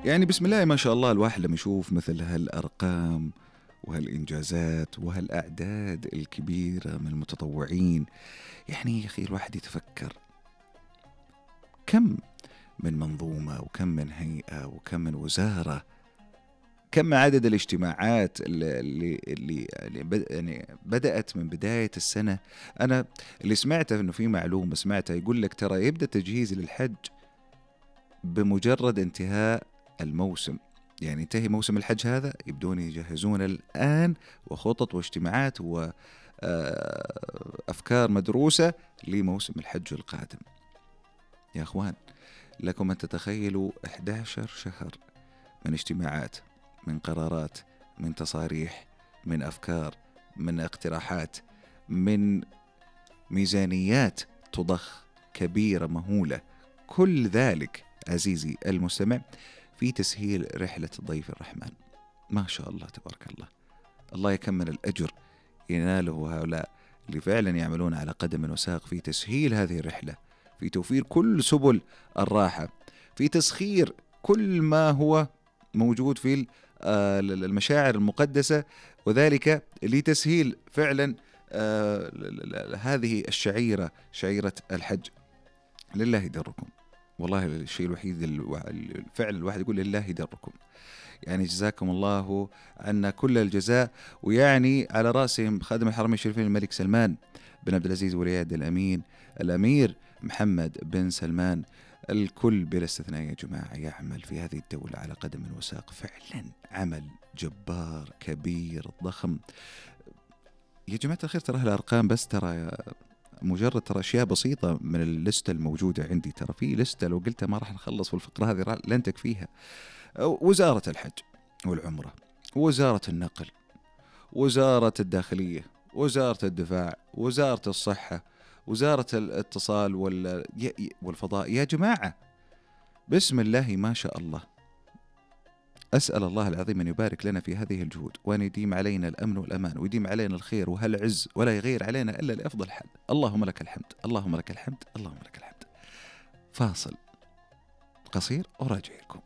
يعني بسم الله ما شاء الله، الواحد لما يشوف مثل هالأرقام وهالإنجازات وهالأعداد الكبيرة من المتطوعين، يعني يا أخي الواحد يتفكر كم من منظومة وكم من هيئة وكم من وزارة، كم عدد الاجتماعات اللي يعني بدأت من بداية السنة. أنا اللي سمعته إنه في معلومة سمعتها يقول لك ترى يبدأ التجهيز للحج بمجرد انتهاء الموسم، يعني انتهي موسم الحج هذا يبدون يجهزون الآن وخطط واجتماعات وأفكار مدروسة لموسم الحج القادم. يا أخوان لكم أن تتخيلوا 11 شهر من اجتماعات، من قرارات، من تصاريح، من أفكار، من اقتراحات، من ميزانيات تضخ كبيرة مهولة، كل ذلك عزيزي المستمع في تسهيل رحلة ضيف الرحمن. ما شاء الله تبارك الله، الله يكمل الأجر يناله هؤلاء اللي فعلا يعملون على قدم وساق في تسهيل هذه الرحلة، في توفير كل سبل الراحة، في تسخير كل ما هو موجود في المشاعر المقدسة، وذلك لتسهيل فعلا هذه الشعيرة، شعيرة الحج. لله دركم، والله الشيء الوحيد الفعل الواحد يقول لله دركم، يعني جزاكم الله عنا كل الجزاء. ويعني على رأسهم خادم الحرمين الشريفين الملك سلمان بن عبد العزيز ولي العهد الأمين الأمير محمد بن سلمان، الكل بلا استثناء يا جماعة يعمل في هذه الدولة على قدم وساق، فعلا عمل جبار كبير ضخم يا جماعة الخير. ترى الأرقام بس ترى مجرد ترى أشياء بسيطة من اللستة الموجودة عندي، ترى في لستة لو قلتها ما راح نخلص، والفقرة هذه لن تكفيها. وزارة الحج والعمرة، وزارة النقل، وزارة الداخلية، وزارة الدفاع، وزارة الصحة، وزارة الاتصال والفضاء. يا جماعة بسم الله ما شاء الله، أسأل الله العظيم أن يبارك لنا في هذه الجهود، وأن يديم علينا الأمن والأمان، ويديم علينا الخير وهالعز، ولا يغير علينا إلا لأفضل حال. اللهم لك الحمد، اللهم لك الحمد، اللهم لك الحمد. فاصل قصير وراجع لكم.